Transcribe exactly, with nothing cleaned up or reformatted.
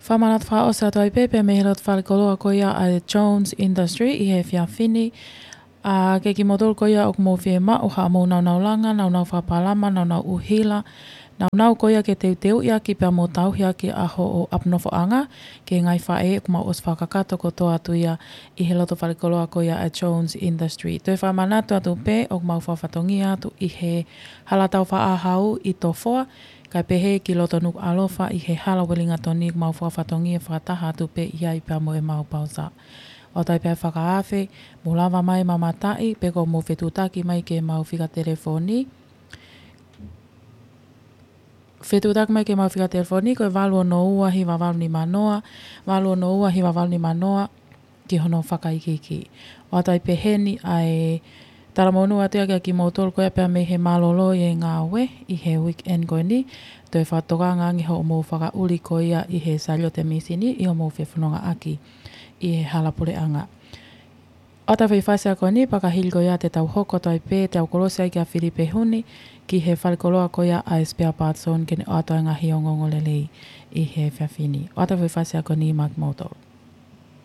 Fakamanatu fakaʻosi atu ai pē pea mei he loto falekoloa ko ia ʻa e Jones Industry ʻi he efiafi ni. ʻA, ke kimoutolu ko ia ʻoku mou fiemaʻu haʻamou nāunau langa, nāunau fakapalama, nāunau ʻuhila, nāunau ko ia ke teuteuʻi ʻaki pea mo tauhi ʻaki ʻa hoʻo ʻapi nofoʻanga, ki he ngaahi faʻē ʻoku mau ʻosi fakakakato kotoa atu ia ʻi he loto falekoloa ko ia ʻa e Jones Industry. Toe fakamanatu atu pē ʻoku mau fakafatongia atu ʻi he hala taufaʻāhau ʻi Tofoa, kae pehē ki loto Nukuʻalofa ʻi he hala Uelingatoni ʻoku mau fakafatongia fakataha atu pē ʻi ai pea mo ʻemau pausa. ʻOatu ai pē ʻa e fakaafe, mou lava mai mamataʻi, pe ko hoʻomou fetuʻutaki mai ki heʻemau fika telefoni. Fetuʻutaki mai ki heʻemau fika telefoni, ko e valu ono ua hiva valu nima noa, valu ono ua hiva valu nima noa, ki hono fakaikiiki. ʻOatu ai pē heni ʻa e talamonū atu ia kia kimoutolu ko ia pea mei he mālōlō ʻi he ngāue ʻi he weekend ko eni, toe fakatokanga ange hoʻomou fakaʻuli ko ia ʻi he saliote mīsini ʻi hoʻomou fefonongaʻaki ʻi he hala puleʻanga. ʻOatu ai foʻi fasi ako ni, pea ka hili ko ia te tau hoko atu ai pē, te tau kolosi ai kia Filipe Huni, ki he falekoloa ko ia ʻa e Spare Parts Zone ke ne ʻoatu ai e ngaahi ongoongolelei ʻi he efiafi ni. ʻOatu ai foʻi fasi ako ni maʻa kimoutolu.